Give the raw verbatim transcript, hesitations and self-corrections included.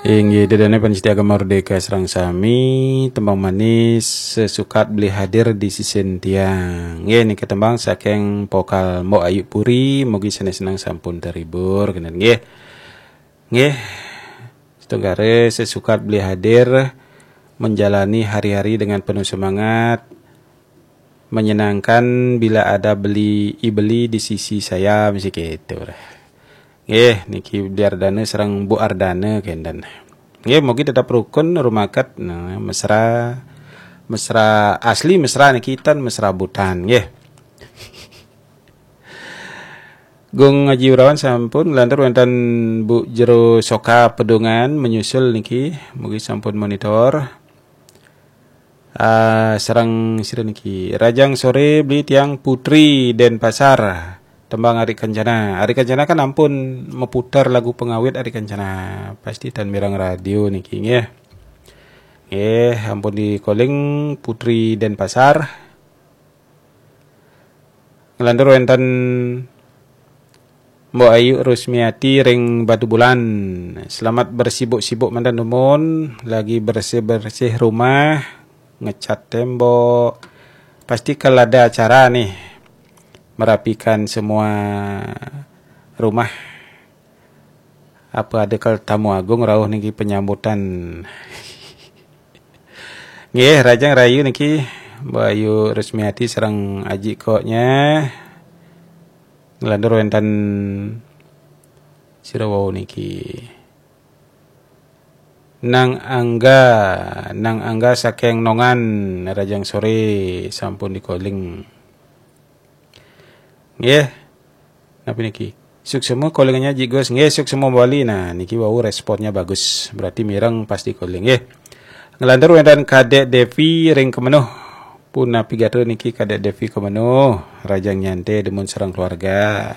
Inggih, ida dané pamiarsa Gema Merdeka sareng sami, tembang manis sesukat beli hadir di sisin tiang. Nggih, niki tembang saking vokal Mbok Ayu Puri, mugi sanés seneng sampun terhibur, kenten nggih. Nggih, setunggare sesukat beli hadir, menjalani hari-hari dengan penuh semangat, menyenangkan bila ada beli, i beli di sisi saya, mesti gitu. Nggih, niki Bli Ardana sareng Bu Ardana kenten. Nggih, mugi tetap rukun, rumaket, nah, mesra, mesra asli, mesra niki ten, mesra butan, nggih. Gung Aji Wirawan sampun, nglantur wenten Bu Jero Soka Pedungan menyusul niki, mugi sampun monitor. Ah, sareng sira niki. Rajang sore beli tiang Putri Denpasar. Tembang Ari Kencana. Ari Kencana kan ampun meputar lagu pengawit Ari Kencana. Pasti ten mireng radio niki nggih. Nggih, ampun di calling Putri Denpasar. Nglantur wenten Mbok Ayu Rusmiati ring Batubulan. Selamat bersibuk-sibuk manten dumun, lagi bersih-bersih rumah, ngecat tembok. Pasti kalau ada acara nih, merapikan semua rumah. Apa ada kal tamu agung rauh niki penyambutan. Nggih, Rajang Rayu niki, Mbok Ayu Rusmiati sareng Aji Koknya. Nglantur wenten sira wau niki. Nang Angga, Nang Angga saking Nongan, Rajang sore sampun di calling. Nggih. Napa niki? Suksma callingannya Ji Gus. Nggih, suksma Bali. Nah, niki wau responnya bagus. Berarti mireng pasti calling nggih. Nglantur wenten Kadek Devi ring Kemenuh. Punapi gatra niki Kadek Devi Kemenuh, Rajang Nyante dumun sareng keluarga.